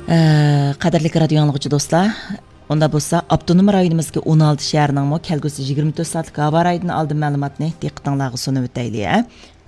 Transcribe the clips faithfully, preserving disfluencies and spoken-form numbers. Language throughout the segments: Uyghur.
ئە، قەدىرلىك رادىيو ئاڭلىغۇچى دوستلار، ئۇنداق بولسا، ئاپتونوم رايونىمىزدىكى ئون ئالتە شەھەرنىڭمۇ كەلگۈسى يىگىرمە تۆت سائەتلىك ھاۋا رايىدىن ئالدىن مەلۇماتنى دىققىتىڭلارغا سۇنۇۋېتەيلى، ھە.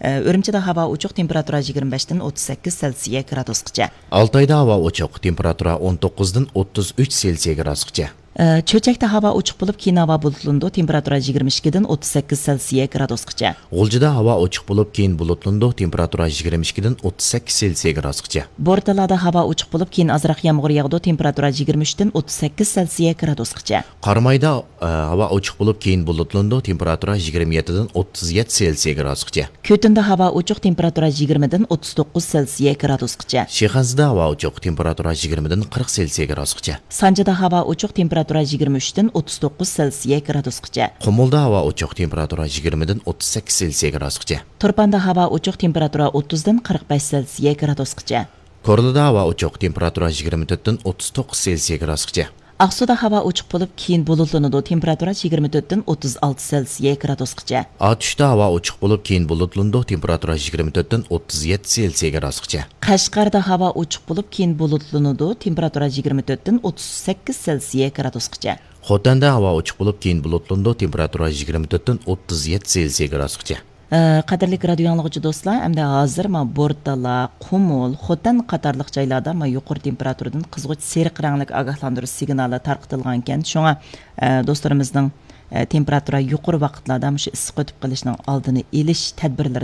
ئە، ئۈرۈمچىدە ھاۋا ئوچۇق، تېمپېراتۇرا يىگىرمە بەشتىن ئوتتۇز سەككىز سېلسىيە گرادۇسقىچە. ئالتايدا ھاۋا ئوچۇق، تېمپېراتۇرا ئون توققۇزدىن ئوتتۇز ئۈچ سېلسىيە گرادۇسقىچە. ئە، چۆچەكتە ھاۋا ئوچۇق بولۇپ، كېيىن ھاۋا بۇلۇتلىنىدۇ، تېمپېراتۇرا يىگىرمە ئىككىدىن ئوتتۇز سەككىز سېلسىيە گرادۇسقىچە. غۇلجىدا ھاۋا ئوچۇق بولۇپ، كېيىن بۇلۇتلىنىدۇ، تېمپېراتۇرا يىگىرمە ئىككىدىن ئوتتۇز سەككىز سېلسىيە گرادۇسقىچە. بورتالادا ھاۋا ئوچۇق بولۇپ، كېيىن ئازراق يامغۇر ياغىدۇ، تېمپېراتۇرا يىگىرمە ئۈچتىن ئوتتۇز سەككىز سېلسىيە گرادۇسقىچە. قارامايدا، ئە، ھاۋا ئوچۇق بولۇپ، كېيىن بۇلۇتلىنىدۇ، تېمپېراتۇرا يىگىرمە يەتتىدىن ئوتتۇز يەتتە سېلسىيە گرادۇسقىچە. كۆتۈندە ھاۋا ئوچۇق، تېمپېراتۇرا يىگىرمىدىن ئوتتۇز توققۇز سېلسىيە گرادۇسقىچە. شىخەنزىدە ھاۋا ئوچۇق، تېمپېراتۇرا يىگىرمىدىن قىرىق سېلسىيە گرادۇسقىچە. سانجىدا ھاۋا ئوچۇق، تېمپېراتۇرا يىگىرمە ئۈچتىن ئوتتۇز توققۇز سېلسىيە گرادۇسقىچە. قۇمۇلدا ھاۋا ئوچۇق، تېمپېراتۇرا يىگىرمىدىن ئوتتۇز سەككىز سېلسىيە گرادۇسقىچە. تۇرپاندا ھاۋا ئوچۇق، تېمپېراتۇرا ئوتتۇزدىن قىرىق بەش سېلسىيە گرادۇسقىچە. كورلىدا ھاۋا ئوچۇق، تېمپېراتۇرا يىگىرمە تۆتتىن ئوتتۇز توققۇز سېلسىيە گرادۇسقىچە. ئاقسۇدا ھاۋا ئوچۇق بولۇپ، كېيىن بۇلۇتلىنىدۇ، تېمپېراتۇرا يىگىرمە تۆتتىن ئوتتۇز ئالتە سېلسىيە گرادۇسقىچە. ئاتۇشتا ھاۋا ئوچۇق بولۇپ، كېيىن بۇلۇتلىنىدۇ، تېمپېراتۇرا يىگىرمە تۆتتىن ئوتتۇز يەتتە سېلسىيە گرادۇسقىچە. قەشقەردە ھاۋا ئوچۇق بولۇپ، كېيىن بۇلۇتلىنىدۇ، تېمپېراتۇرا يىگىرمە تۆتتىن ئوتتۇز سەككىز سېلسىيە گرادۇسقىچە. خوتەندە ھاۋا ئوچۇق بولۇپ، كېيىن بۇلۇتلىنىدۇ، تېمپېراتۇرا يىگىرمە تۆتتىن ئوتتۇز يەتتە سېلسىيە گرادۇسقىچە. ئە، قەدىرلىك رادىيو ئاڭلىغۇچى دوستلار، ئەمدى ھازىر مانا بورتالا، قۇمۇل، خوتەن قاتارلىق جايلاردا مانا يۇقىرى تېمپېراتۇرىدىن قىزغۇچ سېرىق رەڭلىك ئاگاھلاندۇرۇش سىگنالى تارقىتىلغانىكەن. شۇڭا، ئە، دوستلىرىمىزنىڭ، ئە، تېمپېراتۇرا يۇقىرى ۋاقىتلاردا مۇشۇ ئىسسىق ئۆتۈپ قېلىشنىڭ ئالدىنى ئېلىش تەدبىرلىرىنى